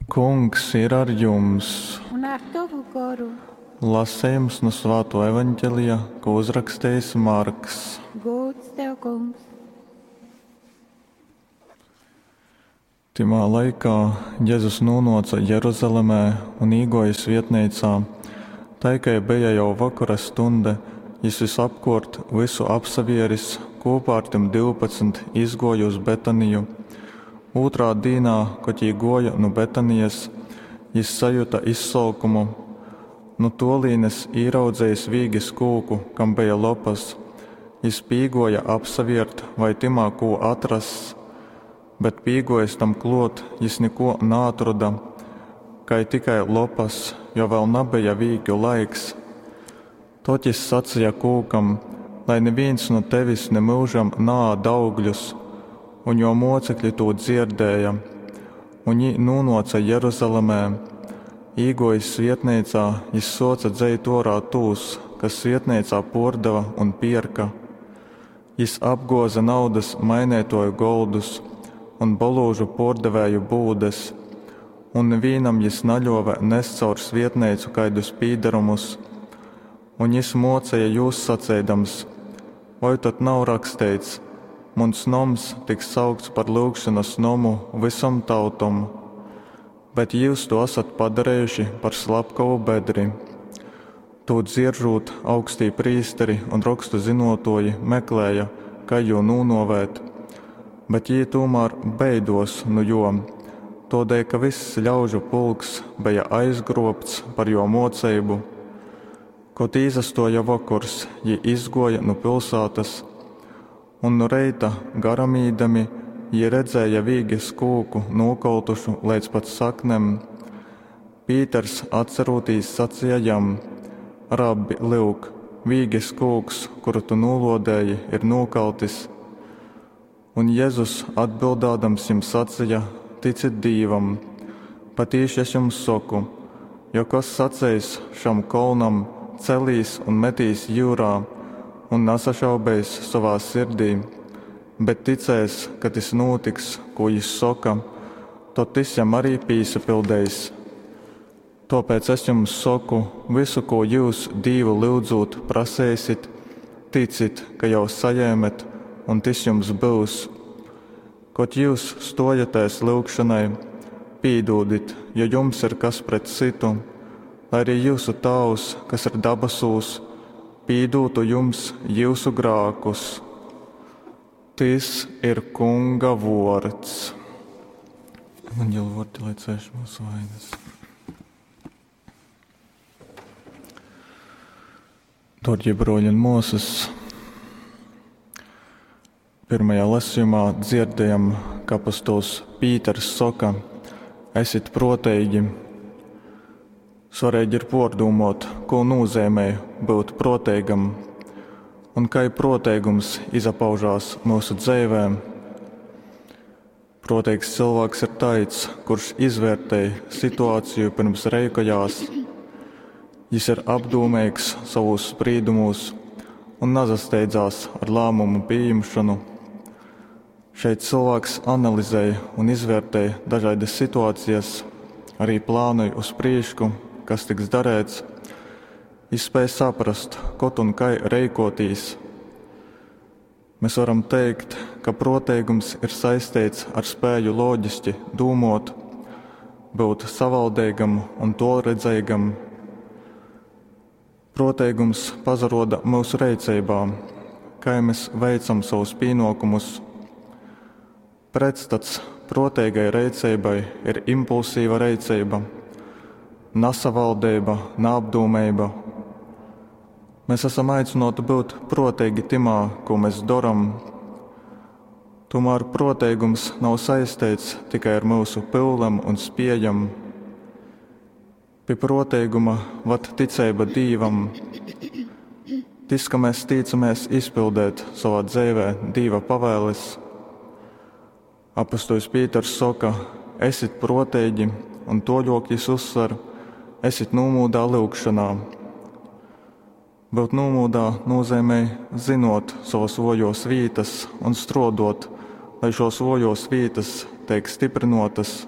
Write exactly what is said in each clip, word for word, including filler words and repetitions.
Kungs ir ar jums! Un ar tovu goru. Lasejums nu Svātuo Evaņģelija, ko uzrakstījis Marks. Gūds tev, kungs! Tymā laikā Jezus nūnōca Jeruzalemē un īgōja svietneicā. Tai kai beja jau vokora stunde, jis visapkōrt vysu apsavieris, kūpā ar tim divpadsmit izgōja uz Betaniju. Ūtrā dīnā, kod jī gōja nu Betanijas, jis sajuta izsolkumu. Nu tōlīnes īraudzejis vīges kūku, kam beja lopas, jis pīgōja apsaviert, vai tymā kū atrass. Bet pīgōjis tam klōt, jis nikuo naatroda, kai tikai lopas, jo vēl nabeja vīgju laiks. Tod jis saceja kūkam: Lai nivīns nu tevis nimyužam naād augļus. Un juo muocekļi tū dzierdēja. Un jī nūnuoca Jeruzalemē. Īguojis svietneicā, jis suoca dzeit uorā tūs, kas svietneicā puordeva un pierka. Jis apguoze naudas maineituoju goldus un bolūžu puordevēju būdes, un nivīnam jis naļuove nest caur svietneicu kaidus pīdarumus. Un jis muoceja jūs saceidams: Voi tod nav raksteits: Muns noms tiks saukts par lyugšonas nomu vysom tautom, bet jyus tū asat padarejuši par slapkovu bedri. Tū dzieržūt, augstī prīsteri un rokstu zynuotuoji meklēja, kai jū nūnuovēt, bet jī tūmār beiduos nu juo, tuodēļ ka vyss ļaužu pulks beja aizgruobts par juo muoceibu. Kod īsastuoja vokors, jī izguoja nu pilsātas, un nu reita garamīdami jī redzēja vīges kūku nūkoltušu leidz pat saknem. Pīters atcerūtīs saceja jam: Rabbi, lyuk, vīges kūks, kuru tu nūluodēji, ir nūkaltis. Un Jezus atbildādams jim saceja: Ticit Dīvam! Patīši es jums soku, jo kas saceis šam kolnam: Celīs un metīs jyurā, un nasašaubeis sovā sirdī, bet ticēs, ka tys nūtiks, kū jis soka, tod tys jam arī pīsapildeis. Tōpēc es jums soku, visu, kū jyus Dīvu lyudzūt praseisit, ticit, ka jau sajēmet, un tys jums byus. Kod jyus stōjatēs lyugšonai, pīdūdit, jo jums ir kas pret cytu, lai arī jyusu Tāvs, kas ir dabasūs, pīdūtu jums jyusu grākus. Tys ir Kunga vuords. Evaņģeļa vuordi, lai cēš mūsu vainas. Dārgie broļi un muosas, pirmajā lasījumā dzirdējam, ka apostols Pīters soka: Esit proteigi. Svarīgi ir pordūmot, ko nozīmē būt proteigam un kai proteigums izapaužās mūsu dzīvē. Proteigs cilvēks ir taids, kurš izvērtēj situāciju pirms reikojās. Jis ir apdūmeigs savūs sprīdumūs un nazasteidzās ar lēmumu pieņemšanu. Šeit cilvēks analizē un izvērtē dažādas situācijas, arī plānoja uz prīšku, kas tiks darēts. Jis spēj saprast, kod un kai reikotīs. Mēs varam teikt, ka proteigums ir saistīts ar spēju loģiski dūmot, būt savaldeigam un tolredzeigam. Proteigums pazaroda mūsu reiceibā, kai mēs veicam savus pienokumus. Pretstats proteigai reiceibai ir impulsīva reiceiba, nasavaldeiba, naapdūmeiba. Mēs esam aicināti būt proteigi timā, ko mēs doram. Tomēr proteigums nav saistīts tikai ar mūsu pyulem un spiejam. Pie proteiguma vad ticeiba Dīvam. Tis, ka mēs tīcamies izpildēt savā dzīvē Dīva pavēles. Apostols Pīters soka: Esit proteigi, un toļok jis uzsver: Esit nūmūdā lyugšanā. Būt nūmūdā nozīmē zinot savas vojos vītas un strodot, lai šos vojos vītas teik stiprinotas.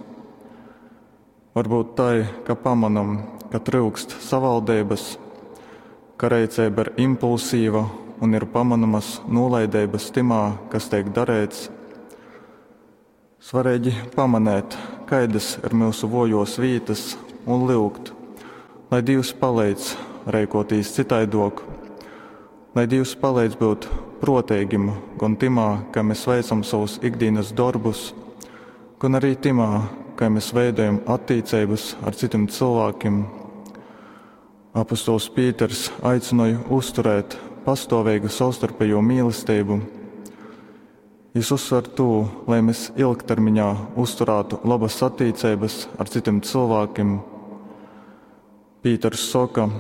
Varbyut tai, ka pamonom, ka tryukst savaldeibas, ka reiceiba ir impulsīva un ir pamonamas nūlaideibas tymā, kas teik dareits. Svareigi pamanēt, kaidas ir myusu vuojuos vītys, un lyugt, lai Dīvs paleidz reikuotīs cytaiduok. Lai Dīvs paleidz byut pruoteigim gon tymā, kai mes veicam sovus ikdīnys dorbus, gon ari tymā, kai mes veidojam attīceibys ar cytim cylvākim. Apostols Pīters aicynoj uzturēt pastuoveigu sovstarpejū mīlesteibu. Jis uzsver tū, lai mes ilgtermiņā uzturātu lobys attīceibys ar cytim cylvākim. Pīters soka,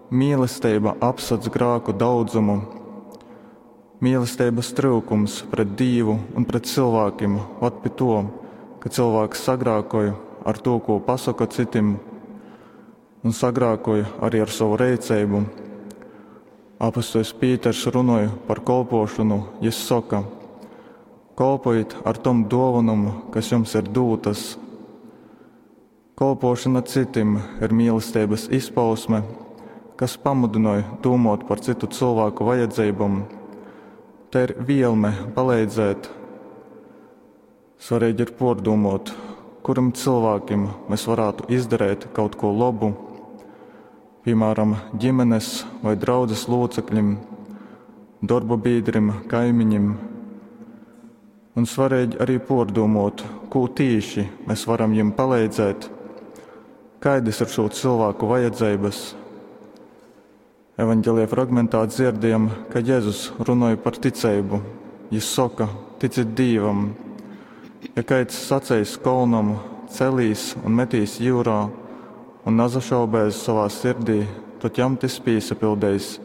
mīlesteiba apsadz grāku daudzumu. Mīlesteibys tryukums pret Dīvu un pret cylvākim vad pi tuo, ka cylvāks sagrākoj ar tū, kū pasoka cytim, un sagrākoj ari ar sovu reiceibu. Apostoļs Pīters runoj par kolpuošonu, jis soka: Kolpojit ar tom duovonom, kas jums ir dūtys. Kolpuošona cytim ir mīlesteibys izpausme, kas pamudynoj dūmuot par cytu cylvāku vajadzeibom. Tei ir vielme paleidzēt. Svareigi ir puordūmuot, kurim cylvākim mes varātu izdareit kaut kū lobu, piemēram, ģimenes voi draudzes lūcekļim, dorba bīdrim, kaimiņim. Un svareigi arī puordūmuot, kū tīši mes varam jim paleidzēt, kaidys ir šū cylvāku vajadzeibys. Evaņgelija fragmentā dzierdējam, ka Jezus runoj par ticeibu. Jis soka: ticit Dīvam. Ja kaids saceis kolnam, celīs un metīs jūrā, un nasašaubēs savā sirdī, tad jam tys pīsapildeis.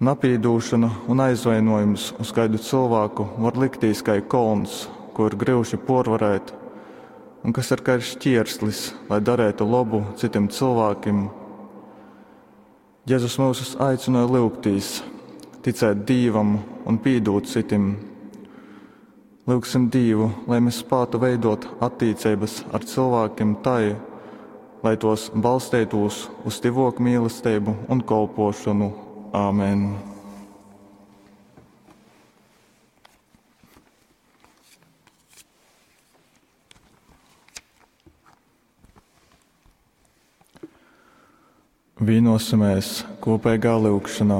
Napīdūšona un aizvainojums uz kaidu cylvāku var liktīs kai kolns, ko ir gryuši puorvarēt, un kas ir kai šķierslis, lai dareitu lobu cytim cylvākim. Jezus myusus aicynoj lyugtīs, ticēt Dīvam un pīdūt cytim. Lyugsim Dīvu, lai mēs spātu veidot attīceibys ar cylvākim tai, lai tos balsteitūs uz tyvuok mīlesteibu un kolpuošonu. Āmen. Vīnosimies kopīgā lyugšanā.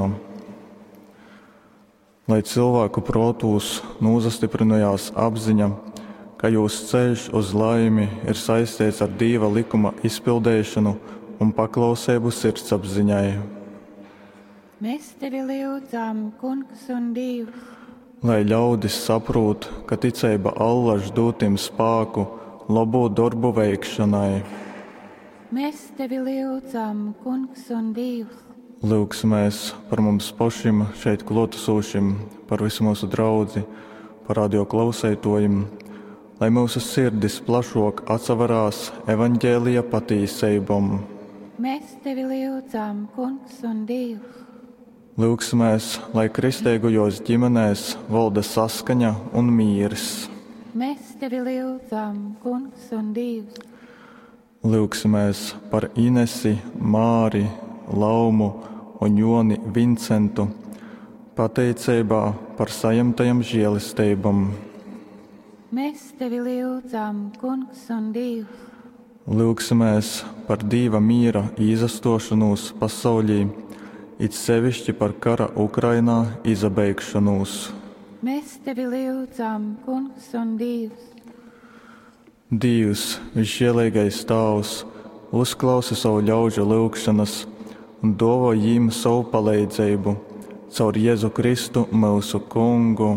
Lai cilvēku protūs nūzastyprynojās apziņa, ka jūs ceļš uz laimi ir saistīts ar Dīva likuma izpildeišonu un paklauseibu sirdsapziņai. Mēs tevi lyudzam, Kungs un Dievs. Lai ļaudis saprūt, ka ticeiba allaž dūd tim spāku lobu dorbu veikšanai. Mēs tevi lyudzam, Kungs un Dievs. Lūgsimies par mums pašim šeit klātesošim, par visu mūsu draudzi, par radio klausētojiem, lai mūsu sirdis plašok atsaverās evaņģēlija patīseibom. Mēs tevi lyudzam, Kungs un Dievs. Lūgsimies, lai kristeigajos ģimenēs valda saskaņa un mīrs. Mēs tevi lyudzam, Kungs un Dievs. Lūgsimies par Inesi, Māri, Laumu un Joni Vincentu, pateiceibā par saņemtajam žēlesteibam. Mēs tevi lyudzam, Kungs un Dievs. Lūgsimies par Dīva mīra izastošanos pasaulī, it sevišķi par kara Ukrainā izabeigšanos. Mēs tevi lyudzam, Kungs un Dievs. Dievs, visžēlīgais Tāvs, uzklausi savu ļaužu lūgšanas un dāvā jīm savu palīdzību caur Jēzu Kristu mūsu Kungu.